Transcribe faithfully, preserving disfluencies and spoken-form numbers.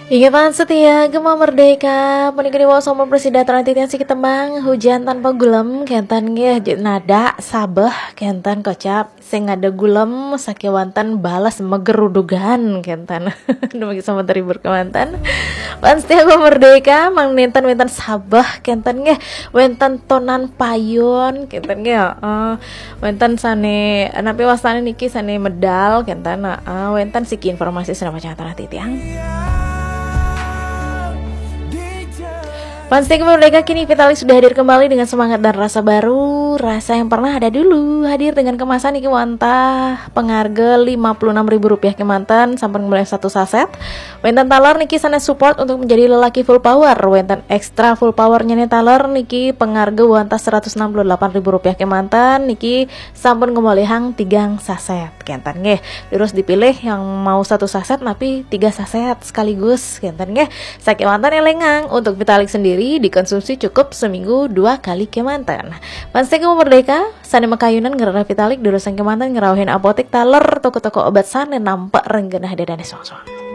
Inggih pan setia Gema Merdeka, puniki wau sampun prasida titiang siki tembang Hujan Tanpa Gulem, kenten nggih, nada sabeh, kenten kocap sing ada gulem sakewanten balas megerudugan, kenten. Dumugi sampun terhibur kemanten. Pan setia Gema Merdeka, mangkin wenten sabeh, kenten nggih, wenten tonan payun, kenten nggih, heeh. Wenten sane, napi wastane niki sane medal, kenten, heeh, wenten siki informasi sane pacang titiang. Fans T K Merdeka, kini Vitalik sudah hadir kembali dengan semangat dan rasa baru. Rasa yang pernah ada dulu hadir dengan kemasan niki wantah pengarga lima puluh enam ribu rupiah kemanten, sampun ngemolihang satu saset. Wenten taler niki sane support untuk menjadi lelaki full power. Wenten extra full power-ne taler niki pengarga wantah seratus enam puluh delapan ribu rupiah kemanten, niki sampun ngemolihang tigang saset, kenten nggih. Terus dipilih yang mau satu saset napi tiga saset sekaligus, kenten nggih. Sakewanten elingang, untuk Vitalik sendiri dikonsumsi cukup seminggu dua kali kemanten. Fans T K Merdeka, sane makayunan ngrereh Vitalik, durusang kemanten ngrauhin apotek taler toko-toko obat sane nampek ring genah dadane soang-soang.